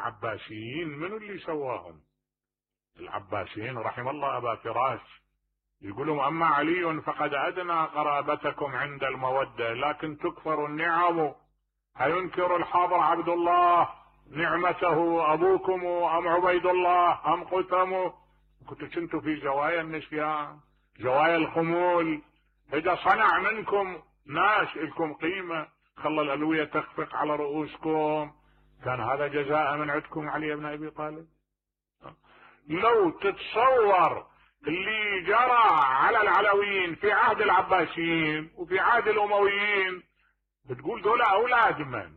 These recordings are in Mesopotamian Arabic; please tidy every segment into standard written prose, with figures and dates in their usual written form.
العباسيين من اللي سواهم؟ العباسيين رحم الله أبا فراس يقولون أما علي فقد أدنى قرابتكم عند المودة، لكن تكفر النعم. أينكر الحاضر عبد الله نعمته أبوكم أم عبيد الله أم قتم؟ كنتوا في زوايا النسيان، زوايا الخمول. إذا صنع منكم ناس لكم قيمة خلى الألوية تخفق على رؤوسكم، كان هذا جزاء من عندكم علي بن أبي طالب. لو تتصور اللي جرى على العلويين في عهد العباسيين وفي عهد الأمويين، بتقول دول أولاد من؟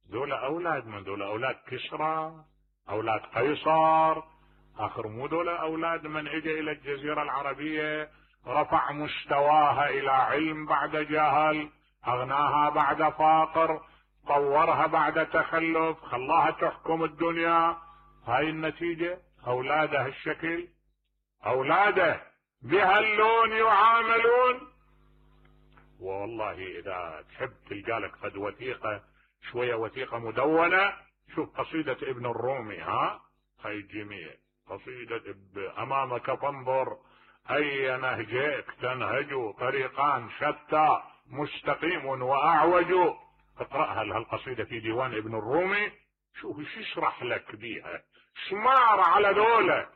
دول أولاد كسرى، أولاد قيصر. آخر مو دول أولاد من اجى إلى الجزيرة العربية رفع مستواها إلى علم بعد جهل، أغناها بعد فقر، طورها بعد تخلف، خلاها تحكم الدنيا. هاي النتيجة، أولاده هالشكل، أولاده بهاللون يعاملون. والله إذا تحب تلقى لك قد وثيقة شوية، وثيقة مدونة. شوف قصيدة ابن الرومي، هاي الجميع قصيدة أمامك فانظر أي نهجك تنهج، طريقان شتى مستقيم وأعوج. اقرأها هالقصيدة في ديوان ابن الرومي، شوف ايش يشرح لك بيها، شمار على دولة،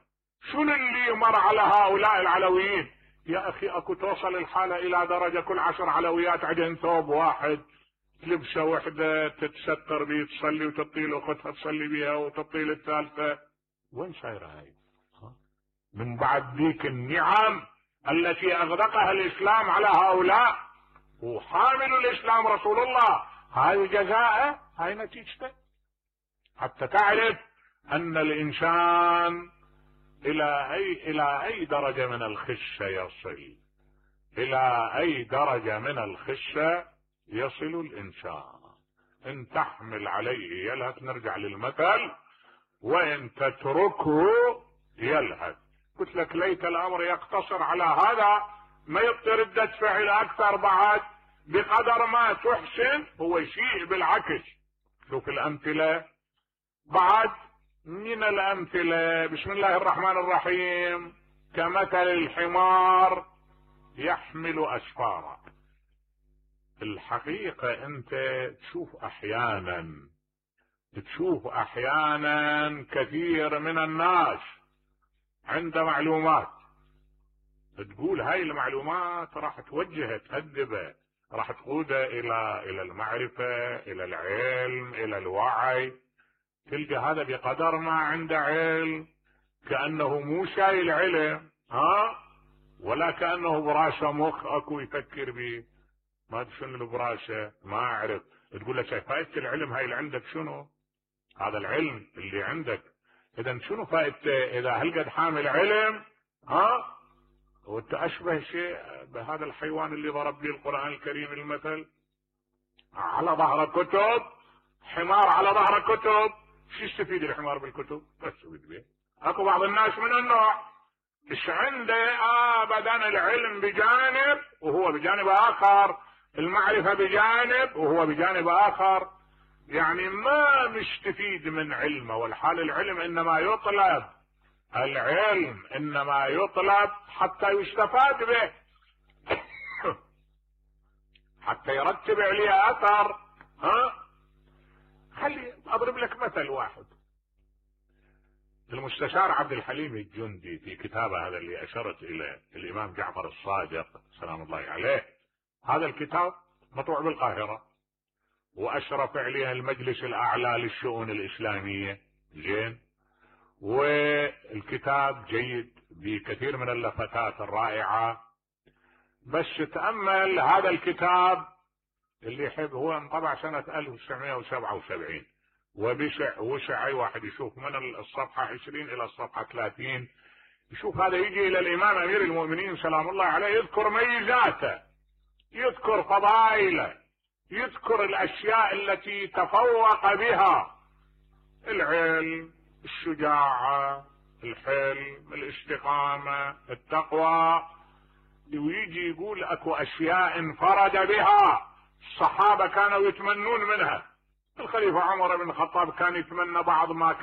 شنو اللي مر على هؤلاء العلويين. يا أخي أكو توصل الحالة إلى درجة كل 10 علويات عندهم ثوب واحد، لبسة وحدة تتستر بيه تصلي وتطيل أختها تصلي بيها وتطيل الثالثة. وين صايرة هاي؟ من بعد ذيك النعم التي أغدقها الإسلام على هؤلاء، وحامل الإسلام رسول الله، هاي جزاءه، هاي نتيجته. حتى تعرف أن الإنسان إلى أي درجة من الخشة يصل، إلى أي درجة من الخشة يصل الإنسان. إن تحمل عليه يلهث، نرجع للمثل، وإن تتركه يلهث. قلت لك ليت الأمر يقتصر على هذا، ما يبطي ردة فعل أكثر بعد. بقدر ما تحسن هو يسيء بالعكس. شوف الأمثلة بعد، من الأمثلة بسم الله الرحمن الرحيم: كمثل الحمار يحمل أسفارا. الحقيقة أنت تشوف أحيانا كثير من الناس عند معلومات، تقول هاي المعلومات راح توجهه تهذبه، راح تقوده إلى المعرفة، إلى العلم، إلى الوعي. تلقى هذا بقدر ما عنده علم كأنه مو شايل علم، ولا كأنه براسه مخ اكو يفكر به. ما ادري شنو البراسه، ما اعرف. تقول له فائدة العلم هاي اللي عندك شنو؟ هذا العلم اللي عندك اذا شنو فائدته اذا هالقد حامل علم؟ وانت اشبه شيء بهذا الحيوان اللي ضرب لي القرآن الكريم المثل، على ظهر كتب، حمار على ظهر كتب. شو يستفيد الحمار بالكتب؟ بس يستفيد به. اكو بعض الناس من النوع ايش عنده ابدا العلم بجانب وهو بجانب اخر، المعرفة بجانب وهو بجانب اخر، يعني ما مستفيد من علمه. والحال العلم انما يطلب، العلم انما يطلب حتى يستفاد به، حتى يرتب عليه اثر. خلي اضرب لك مثل واحد. المستشار عبد الحليم الجندي في كتابه هذا اللي اشرت الى الامام جعفر الصادق سلام الله عليه، هذا الكتاب مطبوع بالقاهرة واشرف عليه المجلس الاعلى للشؤون الاسلامية، زين، والكتاب جيد بكثير من اللفتات الرائعة. بس تأمل هذا الكتاب اللي يحب، هو انطبع سنة 1977 وسع اي واحد يشوف من الصفحة 20 الى الصفحة 30، يشوف هذا يجي الى الامام امير المؤمنين سلام الله عليه، يذكر ميزاته، يذكر فضائله، يذكر الاشياء التي تفوق بها: العلم، الشجاعة، الحلم، الاستقامة، التقوى. ويجي يقول اكو اشياء انفرد بها، الصحابة كانوا يتمنون منها. الخليفة عمر بن الخطاب كان يتمنى بعض ما كان